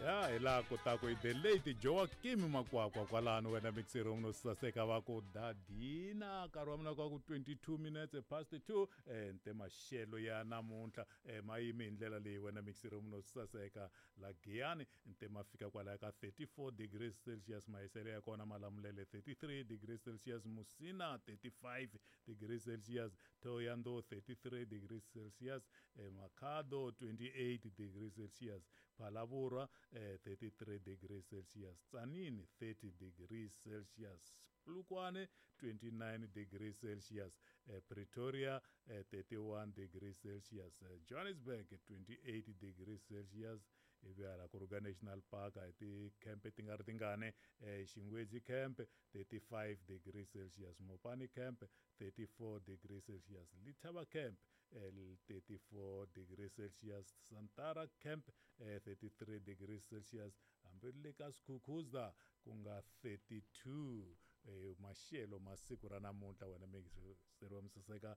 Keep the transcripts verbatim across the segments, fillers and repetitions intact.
Ya hi laha kotaku i the late Joakim Makwakwa kwalano wena mixer no saseka va ku dadina nkarhi wa mina kwa ku twenty-two minutes past two eh nte maxelo ya namuntlha eh ma yimi hi ndlela leyi wena mixer no saseka la Giyani nte ma fika kwalaya ka thirty-four degrees Celsius mahiselo ya kona Malamulele thirty-three degrees Celsius Musina thirty-five degrees Celsius Thohoyandou thirty-three degrees Celsius eh, Makhado twenty-eight degrees Celsius Phalaborwa eh, thirty-three degrees Celsius Tzaneen thirty degrees Celsius Polokwane twenty-nine degrees Celsius eh, Pretoria eh, thirty-one degrees Celsius eh, Johannesburg twenty-eight degrees Celsius ivi hala Kruger National Park hi ti-camp ti nga ri tingani eh, Xingwedzi camp thirty-five degrees Celsius Mopani camp thirty-four degrees Celsius Letaba camp eh, thirty-four degrees Celsius Santara camp eh, thirty-three degrees Celsius hambi le ka Skukuza ku nga thirty-two eh, maxelo ma siku ra namuntlha wena mixeri wa misaseka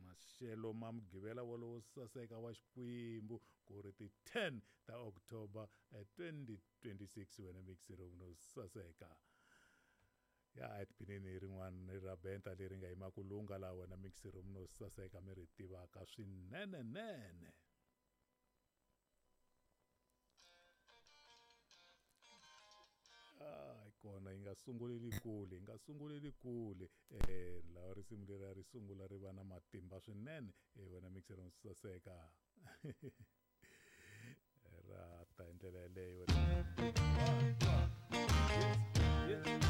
maxelo ma mugqivela wolowo saseka wa Xikwembu ku ri ti ten ta October eh, twenty twenty-six wena mixeri no saseka ya etipinini rin'wana ra benta leri nga yima ku lunga laha wena mixeri no saseka mi ri tivaka swinene nene. Ai kona yi nga sunguleli kule yi nga sunguleli kule eh lawa risimu leri ri sungula ri va na matimba swinene eh wena mixer no saseka ra ta hi ndlela yeleyo wena. Yes, yes,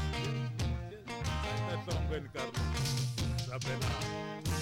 yes, yes.